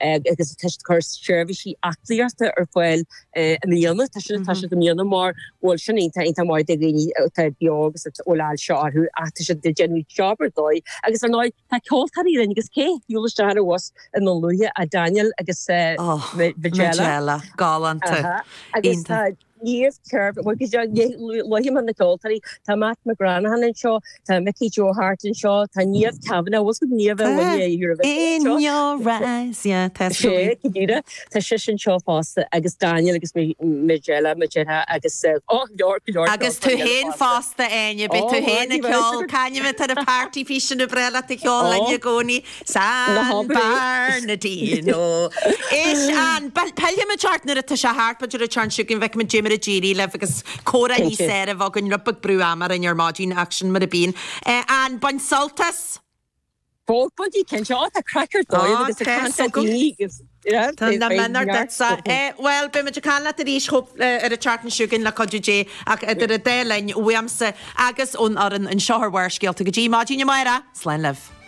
Agus tá siad ag cur seirbhísí aclaíochta ar fáil i mbliana. Tá sin tá siad i mbliana mar bhfuil sin iontach iontach maith do dhaoine atá beo agus a bhfuil ailse orthu ach tá siad ag déanamh job ar dóigh. Agus ar ndóigh tá ceoltóirí linn agus cé a shiúil isteach ar an bhus i nDún Lúiche ach Daniel agus Majella. Galánta. Agus tá Niamh Kerr, luafaidh mé na ceoltóirí, tá Matt McGranaghan anseo, tá Mickey Joe Harte anseo, tá Niamh Kavanagh, bhfuil fhios agat Niamh a bhain Eurovision anseo? In your eyes, yeah, tá sé. Go díreach, tá sise anseo fosta agus Daniel agus Majella, Majella agus oh, leor, go leor Agus tú féin fosta, Áine, beidh tú féin ag ceol, c'ainm atá ar an party piece sin ab bhreá leat a cheol linn i gcónaí? San Bernardino. Éist Ann, pillfimid ort nuair atá sé thart, b'fhéidir an tseachtain seo chugainn, feicfimid cad é mar a d'éirigh libh agus comhrá níos fearr a bheith againn, rud beag brú ama orainn ar maidin ach sin mar a bíonn. Ann, bain sult as! Bainfidh, cinnte. Ó, tá craic ar dóigh agus ag caint le daoine agus Tá na mionúir duitse. Bhuel, beidh muid ag caint leat arís ar an tseachtain seo chugainn le cuidiú Dé ach idir an dá linn, uaimse agus ón fhoireann anseo ar Bharrscéalta go dtí maidin amárach, slán libh.